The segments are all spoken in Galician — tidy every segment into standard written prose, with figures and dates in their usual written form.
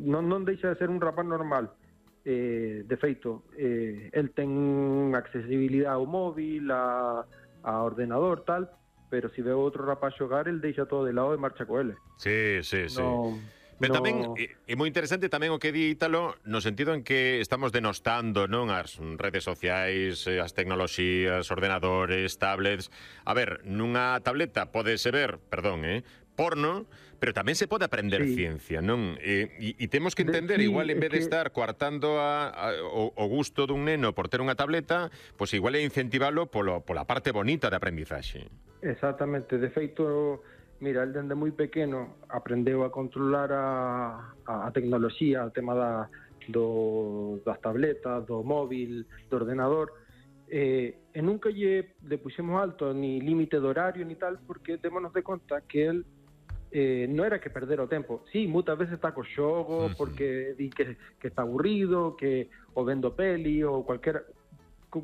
non deixa de ser un rapaz normal. De feito, el ten accesibilidade ao móvil, a ordenador, tal, pero se ve outro rapaz xogar, el deixa todo de lado e marcha co ele. Sí. Pero tamén é moi interesante tamén o que di Ítalo, no sentido en que estamos denostando, non, as redes sociais, as tecnoloxías, ordenadores, tablets. A ver, nunha tableta podese ver, porno, pero tamén se pode aprender ciencia, non? E temos que entender, igual en vez de estar coartando o gusto dun neno por ter unha tableta, pois igual é incentivalo pola parte bonita de aprendizaxe. Exactamente, de feito, mira, el dende moi pequeno aprendeu a controlar a tecnoloxía, o tema das tabletas, do móvil, do ordenador, e nunca lle puxemos alto ni límite de horario ni tal, porque démonos de conta que el non era que perder o tempo. Sí, moitas veces está co xogo porque di que está aburrido, que o vendo peli ou cualquier...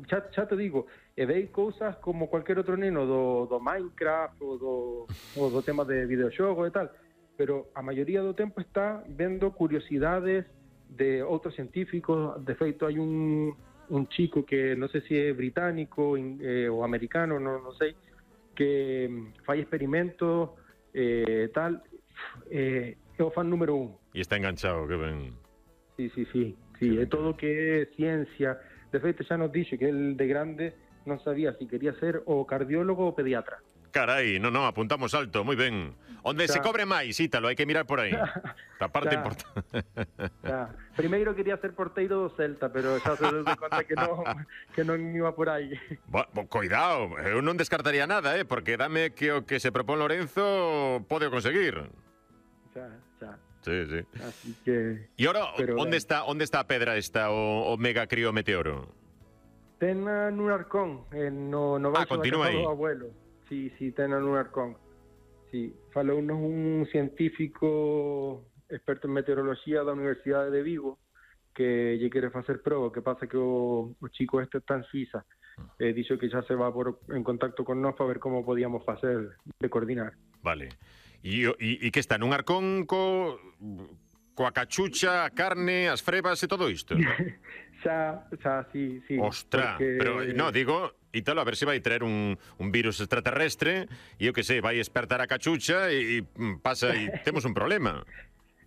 Xa te digo, vei cousas como cualquier outro neno do Minecraft ou do tema de videoxogo e tal, pero a maioría do tempo está vendo curiosidades de outros científicos. De feito, hai un chico que non sei se é británico ou americano, non sei, que fai experimentos tal, é o fan número 1. E está enganchado, que ben. Sí, é todo que é ciencia. De feito, xa nos dixo que el de grande non sabía se quería ser o cardiólogo ou pediatra. Carai, non, apuntamos alto, moi ben. Onde se cobre máis, Ítalo, hai que mirar por aí. A parte importante. Primeiro quería ser porteiro do Celta, pero xa se deu de conta que non iba por aí. Cuidado, eu non descartaría nada, porque dame que o que se propón Lorenzo pode conseguir. Xa. Sí. Así que... E ora, onde está a pedra esta, o mega crío meteoro? Ten nun arcón, no baixo da casa do abuelo. Sí, ten nun arcón. Sí, falounos un científico experto en meteoroloxía da Universidade de Vigo que lle quere facer proba, que pasa que o chico este está en Suiza. Dixo que xa se va en contacto con nós para ver como podíamos facer de coordinar. Vale. E que está nun arcón coa cachucha, a carne, as frebas e todo isto? Xa, sí. Ostra, pero, digo, Ítalo, a ver se vai traer un virus extraterrestre e, eu que sei, vai espertar a cachucha e pasa e temos un problema.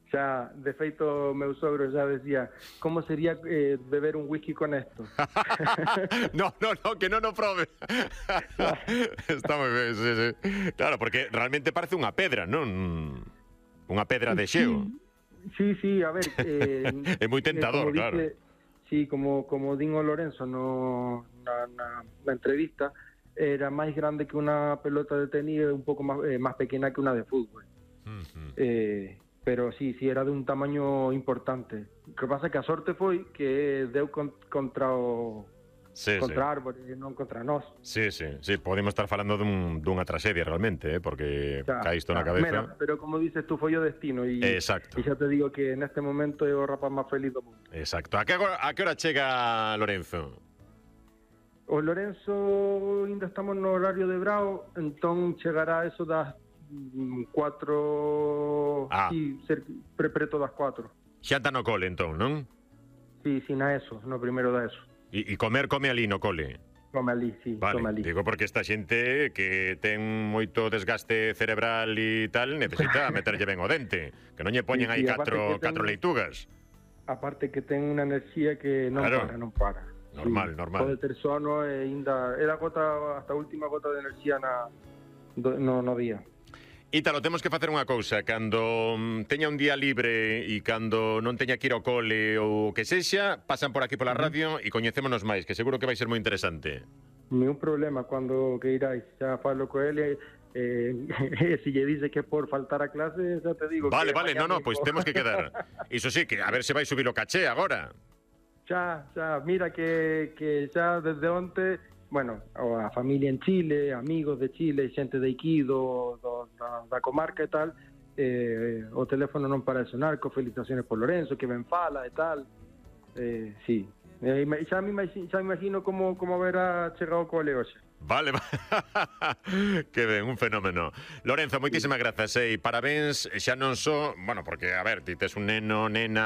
Xa, de feito, meu sogro xa decía, como sería beber un whisky con esto? No, que non o prove. Está moi ben, sí. Claro, porque realmente parece unha pedra, non? Unha pedra de xeo. Sí, a ver... é moi tentador, claro. Sí, como din o Lorenzo na entrevista, era máis grande que unha pelota de tenis e un pouco máis pequena que unha de fútbol. Pero sí, era de un tamaño importante. O que pasa é que a sorte foi que deu contra árbores, non contra nós. Sí, podemos estar falando dunha tragedia realmente, porque cae isto na cabeza. Mira, pero como dices tú, foi o destino. Exacto. E xa te digo que neste momento é o rapaz máis feliz do mundo. Exacto. A que hora chega Lorenzo? O Lorenzo ainda estamos no horario de Brao, entón chegará eso das 4... Sí, preto das 4. Xanta no cole, entón, non? Sí, na ESO, no primeiro da ESO. E come ali no cole? Come ali, sí, vale, come ali. Digo porque esta xente que ten moito desgaste cerebral e tal, necesita meterlle ben o dente, que non lle poñen aí catro leitugas. Aparte que ten unha enerxía que non para. Normal. Pode ter sono e ainda... É hasta a última gota de enerxía no día. Ítalo, temos que facer unha cousa. Cando teña un día libre e cando non teña que ir ao cole ou que sexa, pasan por aquí pola radio e coñecémonos máis, que seguro que vai ser moi interesante. Ningún problema, cando que iráis. Xa falo co ele, se lle dice que por faltar a clase, xa te digo. Vale, pois temos que quedar. Iso sí, que a ver se vai subir o caché agora. Xa, mira que xa desde onte... Bueno, a familia en Chile, amigos de Chile, xente de Iquido, da comarca e tal, o teléfono non para de sonar, co felicitaciones por Lorenzo, que ben fala e tal. Sí, xa me imagino como haberá chegado co Aleoxe. Vale, que ben, un fenómeno. Lorenzo, moitísimas grazas e parabéns, xa non só, bueno, porque, a ver, ti tes un neno, nena,